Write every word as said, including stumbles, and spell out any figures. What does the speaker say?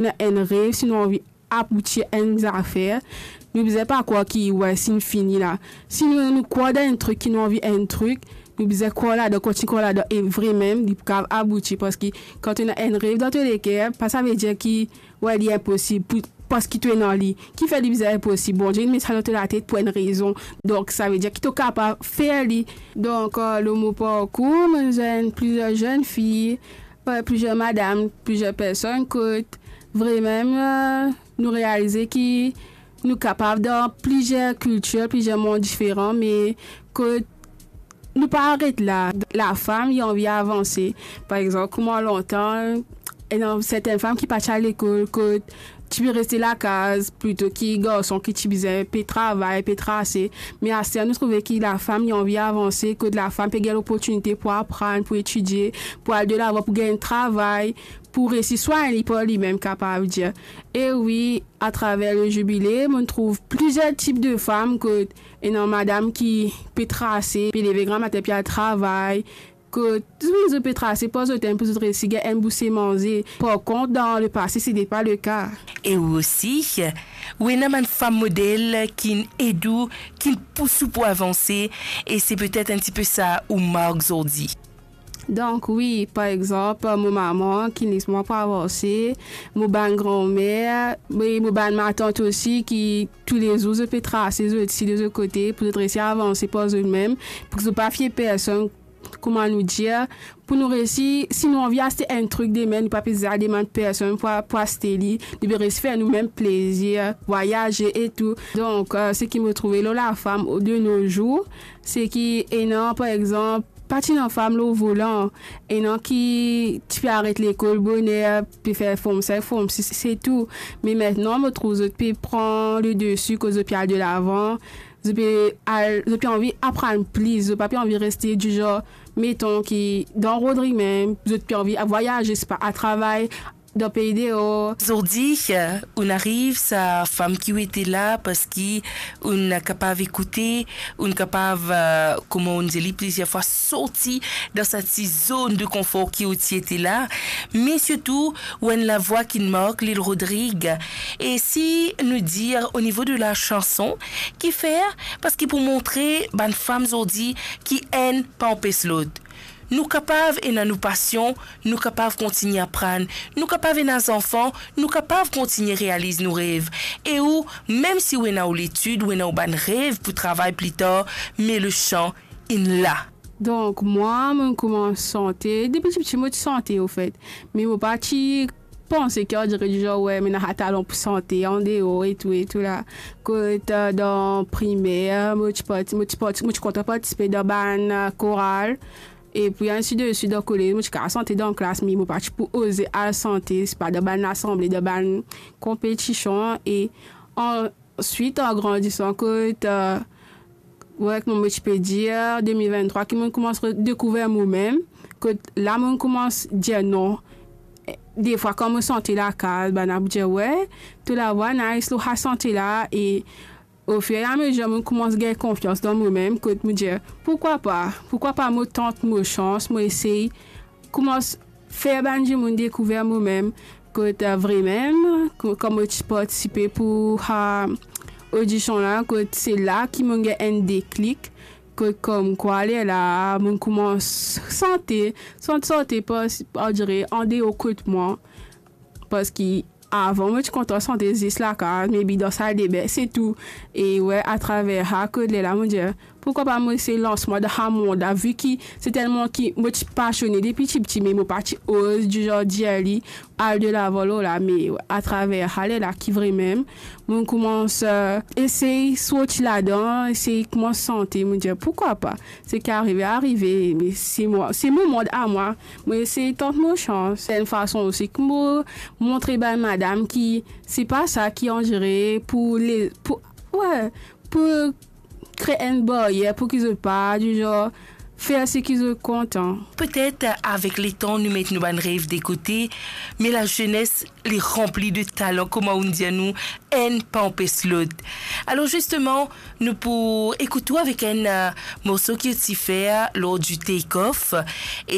Ena enn rev, si nou anvi aboutir enn zafer, nou bizin pa krwar ki, we, si nou fini la. Si nou, nou krwar dan enn trik, ki nou anvi enn trik, nou bizin krwar ladan, kontign krwar ladan, e vremem, li pou kav abouti, parski kan to ena enn rev dan to leker, pa savedir ki, we, li inposib, pou, parski to ena li. Kifer li bizin inposib? Bondie inn met sa dan to latet pou enn rezon. Donk, savedir ki to kapav fer li. Donk, eh, lor mo parkour, mo zenn plizier zenn fi, eh, plizier madam, plizier personn kot vremem, eh, nou realize ki nou kapav dan plizier kiltir, plizier mond diferan, me kot nou pa aret la. Lafam, li anvi avanse. Par exanp, kouma lontan, ena sertenn fam ki pa ti al lekol, kot ti pe reste lakaz, plito ki garson ki ti bizin pe travay, pe trase. Me aster, nou trouve ki lafam, li anvi avanse, kot lafam pe gagn loportinite pou aprann, pou etidie, pou al delavan, pou gagn travay, pou resi swagn li par limem, kapav dir. E wi, atraver le zibile, mo trouv plizier tip de fam, kot ena madam ki pe trase, pe leve gramatin, pe al travay, kot zot, zot pe trase par zot mem pou zot resi gagn enn bouse manze. Par kont, dan lepase, se te pa leka. E ou osi, ou ena bann fam model ki'nn ed ou, ki'nn pous ou pou avanse, e se petet enn tipe sa ou mark zordi. Donk wi, par exanp, mo mama ki les mwa pou avanse, mo bann granmer, e mo bann matant osi ki toulezour zot pe trase zot si de zot kote pou zot resi avanse par zot mem, pou ki zot pa fie personn, kouma nou dir, pou nou resi, si nou anvi aste enn trik demin, nou pa pe bizin al demann personn pou, pou aste li, nou pe resi fer nou mem plezir, vwayaze e tou. Donk, eh, seki mo trouve lor lafam de nos jours, se ki ena, par exanp, pa ti ena fam lor volan, ena ki ti pe aret lekol boner, pe fer form cinq, form six, se tou. Me aster, mo trouv zot pe pran le desi, kot zot pe al delavan, zot pe al, zot pe anvi aprann plis, zot pa pe anvi reste dizar, meton ki dan Rodrig mem, zot pe anvi vwayaze, se pa al travay dan pei deor. Zordi, ou'nn ariv sa fam ki ou ete la, parski ou'nn kapav ekoute, ou'nn kapav, eh, kouma ou'nn dir li plizier fwa, sorti dan sa ti zone de confort ki ou ti ete la, me sirtou, ou enn lavwa ki mark Lil Rodrig. E si nou dir o nivo de la chanson, kifer? Parski pou montre bann fam zordi ki enn pa anpes lot. Nou kapav ena nou pasion, nou kapav kontign aprann, nou kapav ena zanfan, nou kapav kontign realiz nou rev. E ou, mem si ou ena ou letid, ou ena ou bann rev pou travay pli tar, me le chan inn la. Donk, mwa, mo'nn koumans sante. Depi tipti, mo ti sante, anfet. Me mo pa ti panse ki, andire, dizar, we, mo ena sa talon pou sante andeor e tou, e tou la. Kot, eh, dan primer, mo ti parti, mo ti parti, mo ti kontan partisipe dan bann, eh, koral. E pi, ainsi de suite, dan kolez, mo ti kapav sante dan klas, me mo pa ti pou oze al sante, se pa dan bann lasanble, dan bann konpetision. E answit, an grandisan, kot, eh, we, kouma mo ti pe dir, de mil venntrwa, ki mo'nn koumans re-, dekouver momem, kot la mo'nn koumans dir non. Defwa, kan mo sante lakaz, bann la pou dir, we, to lavwa nice lor sa sante la, e ofiramezir, mo'nn koumans gagn konfians dan momem, kot mo dir, pourkwa pa? Pourkwa pa mo tant mo sans, mo esey koumans fer bann dimoun dekouver momem, kot, eh, vremem, ko-, kan mo ti partisipe pou sa odision la, kot se la ki mo'nn gagn enn deklik, kot komkwa lerla mo'nn koumans sante, sante, sante, pa, andire, andeor kot mwa, parski avan, mo ti kontan sante zis lakaz, maybe dan saldebin, se tou. E we, atraver sa, kot lerla, mo dir, pourkwa pa mo esey lans mwa dan sa mond la, vi ki se telman ki mo ti pasione depi tipti, me mo pa ti oz dizar dir li, al delavan lor la, me atraver sa lerla ki vremem, mo'nn koumans, eh, esey sorti ladan, esey koumans sante, mo dir, pourkwa pa? Seki arive, arive, me se mwa, se mo mond a mwa, mo esey tant mo sans. Se enn fason osi ki mo montre bann madam ki se pa sa ki andire pou le, pou, we, pou kree enn baryer pou ki zot pa, dizar, fer seki zot kontan. Petet, avek letan, nou met nou bann rev de kote, me lazenes, li ranpli de talan, kouma ou'nn dir nou, enn pa anpes lot. Alor, zisteman, nou pou ekout ou avek enn, eh, morso ki ou ti fer lor di Take Off. E